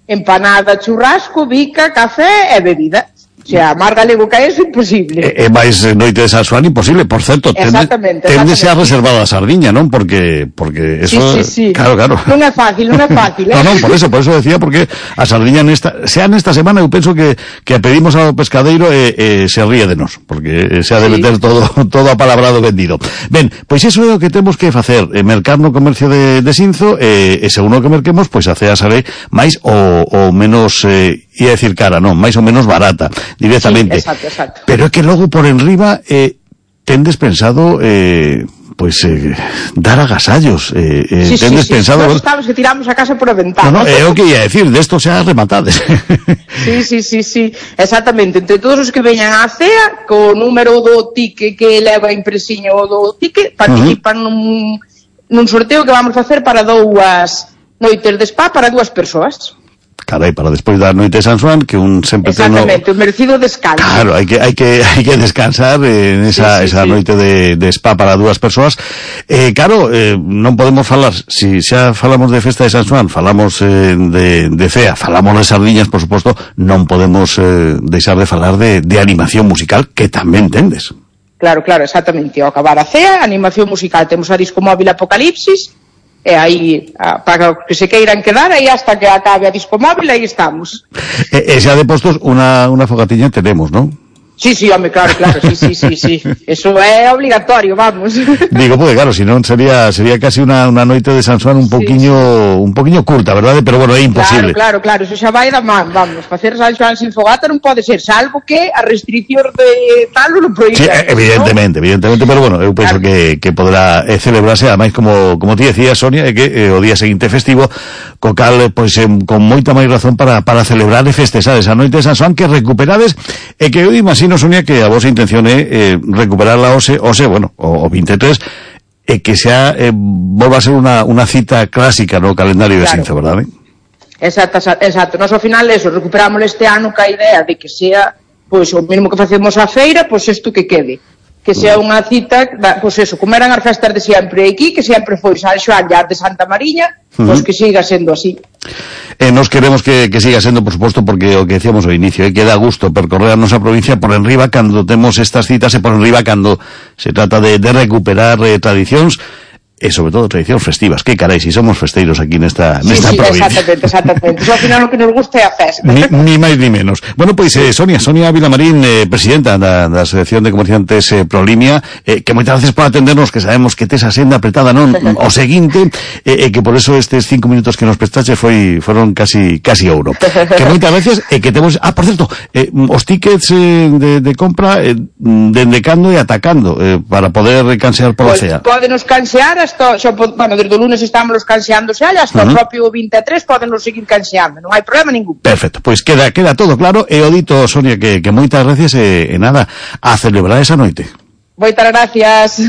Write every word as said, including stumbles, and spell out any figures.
empanada, churrasco, bica, café e bebida. O sea, máis galego que eso, imposible. E, e máis noite de San Xoán, imposible. Por certo, exactamente, téndese a reservar a Sardiña, non? Porque, porque eso... Sí, sí, sí. Claro, claro. Non é fácil, non é fácil, eh? No, non, por eso, por eso decía, porque a Sardiña nesta, sea nesta semana, eu penso que, que a pedimos ao pescadeiro e, e se ríe de nós, porque se ha de meter sí. todo, todo apalabrado vendido. Ben, pois iso é o que temos que facer, eh, mercar no comercio de, de Sinzo, e, e según o que merquemos, pois a cea sale máis ou, ou menos, eh, ia decir cara, non, máis ou menos barata, directamente. Sí, exacto, exacto. Pero é que logo por enriba eh, tendes pensado eh, pois eh, dar agasallos eh, eh, sí, tendes sí, sí, pensado sí. Estamos que tiramos a casa por a ventana. No, no, é o que ia decir, desto xa rematades. Sí, sí, sí, sí, exactamente. Entre todos os que veñan á cea, co número do tique que leva impresiño o do tique, participan uh -huh. nun, nun sorteo que vamos facer para dúas noites de spa para dúas persoas. Carai, para despois da noite de San Xoán, que un sempre ten... Exactamente, un merecido descanso. Claro, hai que hai que hai que descansar en esa sí, sí, esa sí. noite de, de spa para dúas persoas. Eh, claro, eh, non podemos falar, si xa falamos de festa de San Xoán, falamos eh, de, de cea, falamos de sardiñas, por suposto, non podemos eh, deixar de falar de, de animación musical, que tamén tendes. Claro, claro, exactamente. Ao acabar a cea, animación musical, temos a disco móvil Apocalipsis, e aí, para que se queiran quedar, aí hasta que acabe a disco móvil, aí estamos. E, e xa de postos, unha, unha fogatiña tenemos, non? Sí, sí, home, claro, claro, sí, sí, sí, sí. Eso é obligatorio, vamos. Digo, porque claro, si non sería sería casi una, una noite de San Xoán un poquiño sí, sí. un poquiño curta, verdade? Pero bueno, é imposible. Claro, claro, claro, eso xa vai da man, vamos. Facer San Xoán sin fogata non pode ser, salvo que a restricción de tal non proíbe. Sí, evidentemente, ¿no? evidentemente, pero bueno, eu penso claro. que, que poderá eh, celebrarse, ademais, como, como ti decías, Sonia, é que eh, o día seguinte festivo, co cal, pois, eh, con moita máis razón para, para celebrar e festexar esa noite de San Xoán que recuperades, e que eu imagino, Sonia, que a vosa intención é eh, recuperar la OSE, OSE, bueno, o, o veintitrés, e que xa eh, volva a ser unha, unha cita clásica no calendario de claro. Sinzo, verdade? Exacto, exacto. Nos ao final eso, recuperamos este ano ca idea de que sea, pois, o mesmo que facemos a feira, pois isto que quede. Que sea unha cita, pois eso, como eran as festas de sempre aquí, que sempre foi San Xoán e as de Santa Mariña, pois uh -huh. que siga sendo así. Eh, nos queremos que, que siga sendo, por suposto, porque o que decíamos ao inicio, é eh, que dá gusto percorrer a nosa provincia por enriba cando temos estas citas e por enriba cando se trata de, de recuperar eh, tradicións e sobre todo tradicións festivas. Que carai, si somos festeiros aquí nesta, sí, nesta sí, provincia. Exactamente, exactamente. Eso ao final o que nos gusta é a festa. Ni, ni máis ni menos. Bueno, pois, eh, Sonia, Sonia Vilamarín, eh, presidenta da, da Asociación de Comerciantes eh, Prolimia, eh, que moitas veces por atendernos, que sabemos que tes a senda apretada, non? O seguinte, e eh, que por eso estes cinco minutos que nos prestaches foi, foron casi, casi ouro. Que moitas veces, e eh, que temos, ah, por certo, eh, os tickets eh, de, de compra, eh, dende cando e atacando, eh, para poder cansear pola pues, cea. Pódenos cansear hasta, xa, bueno, desde o lunes estamos canseando xa, hasta uh -huh. o propio veintitrés podenos seguir canseando, non hai problema ningún. Perfecto, pois pues queda queda todo claro, e o dito, Sonia, que, que moitas gracias e, e nada, a celebrar esa noite. Moitas gracias.